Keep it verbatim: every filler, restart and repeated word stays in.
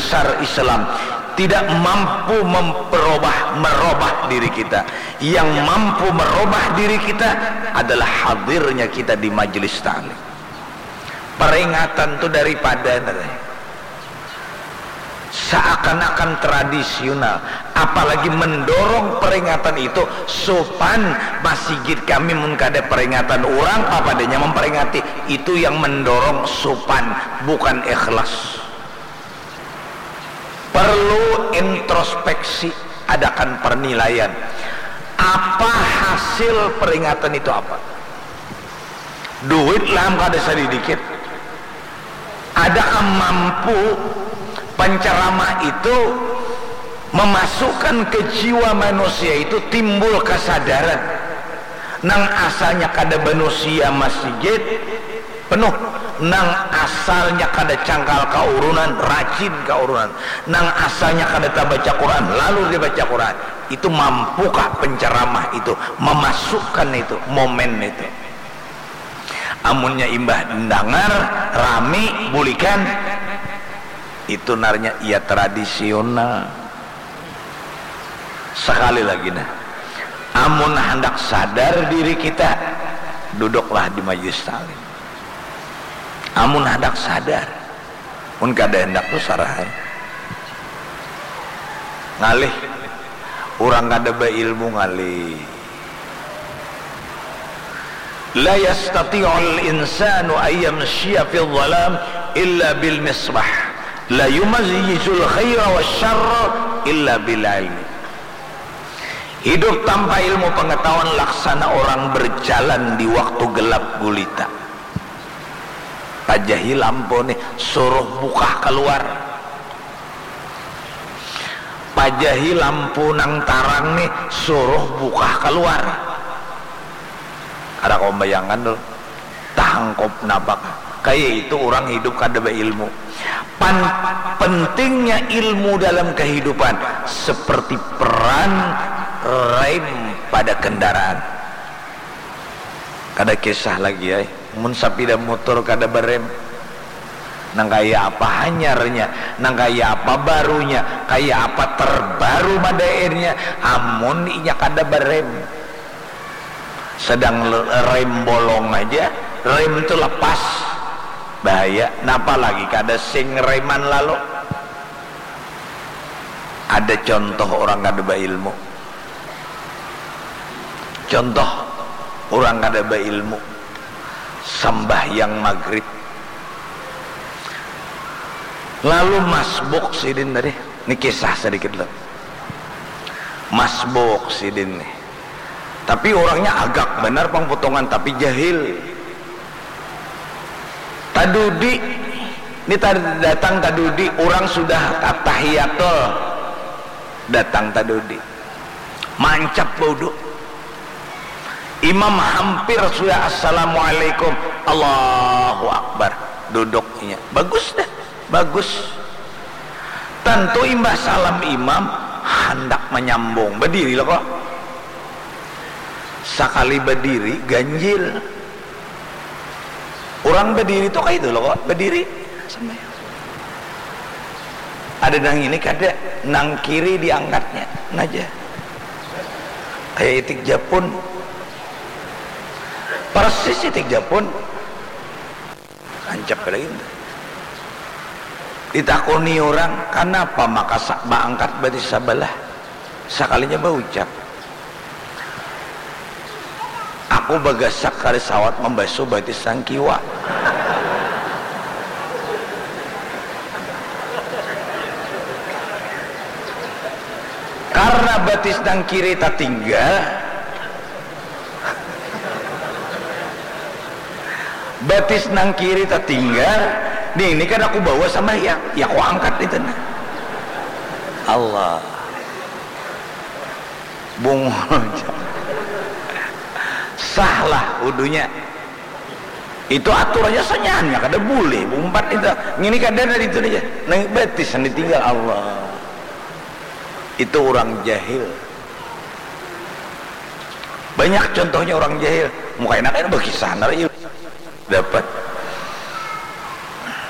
besar Islam tidak mampu memperubah, merubah diri kita. Yang mampu merubah diri kita adalah hadirnya kita di majelis taklim. Peringatan tu daripada, seakan-akan tradisional, apalagi mendorong peringatan itu. Supan, masigit kami mun kada peringatan, urang papadanya memperingati, itu yang mendorong supan, bukan ikhlas. Perlu introspeksi, adakan pernilaian. Apa hasil peringatan itu apa? Duit lah am kada sadidikit. Adakah mampu penceramah itu memasukkan ke jiwa manusia itu timbul kesadaran? Nang asalnya kada manusia masigit penuh, nang asalnya kada cangkal kaurunan, rajin kaurunan, nang asalnya kada tabaca Quran, lalu dibaca Quran. Itu mampukah penceramah itu memasukkan itu momen itu? Amunnya imbah dengar rami bulikan, itu narnya iya tradisional. Sekali lagi nah, amun handak sadar diri kita, duduklah di majelis taklim. Amun handak sadar, mun kada handak tu sarah ai. Ngalih, urang kada bailmu ngalih. La yastati'ul insanu ayyamshiya fil zalam illa bil misbah. La yumayyizul khaira wasyarra illa bil ilmi. Hidup tanpa ilmu pengetahuan laksana orang berjalan di waktu gelap gulita. Pajahi lampu nih, suruh bukah keluar. Pajahi lampu nang tarang nih, suruh bukah keluar. Kada kawa membayangkan dulu. Tahangkup napa kah? Kaya itu urang hidup kada bailmu. Pan, pentingnya ilmu dalam kehidupan seperti peran rem pada kendaraan. Kada kisah lagi ai, mun sapida mutur kada barem. Nang kaya apa hanyarnya, nang kaya apa barunya, kaya apa terbaru madairnya, amun inya kada barem. Sedang rem bolong aja, rem tu lepas, bahaya. Napa lagi kada sing reman lalu. Ada contoh orang kada bailmu. Contoh orang kada bailmu. Sambahyang magrib. Lalu masbuk sidin tadi. Ini kisah sedikit lah. Masbuk sidin nih. Tapi orangnya agak benar pang potongan, tapi jahil. Tadudi, ini tad-, datang tadudi, orang sudah tahiyatul, datang tadudi, mancap baudu. Imam hampir sudah assalamualaikum, Allahu Akbar, duduknya bagus dah, bagus. Tentu imbah salam imam handak menyambung, berdiri lo kok. Sakali badiri ganjil. Urang badiri tu kaya itu lo kok, badiri sampai. Ada nang ini kada, nang kiri diangkatnya, naja. Kaya itik japun. Persis itik japun. Ancap lagi. Ditakuni urang, kanapa maka sa-, baangkat batis sabalah? Sakalinya baucap, aku bagasak kada sawat mambasuh batis nang kiwa. Karna batis nang kiri tatinggal, batis nang kiri tatinggal, nih, ini kan aku bawa sambahyang, ya aku angkat itu nah. Allah. Bungul. Sah lah wudunya. Itu aturannya sanyahannya kada boleh umpat itu. Ini kada ada itu aja. Nang batis yang ditinggal Allah. Itu orang jahil. Banyak contohnya orang jahil. Muka enak kan berkisah nara iya. Dapat.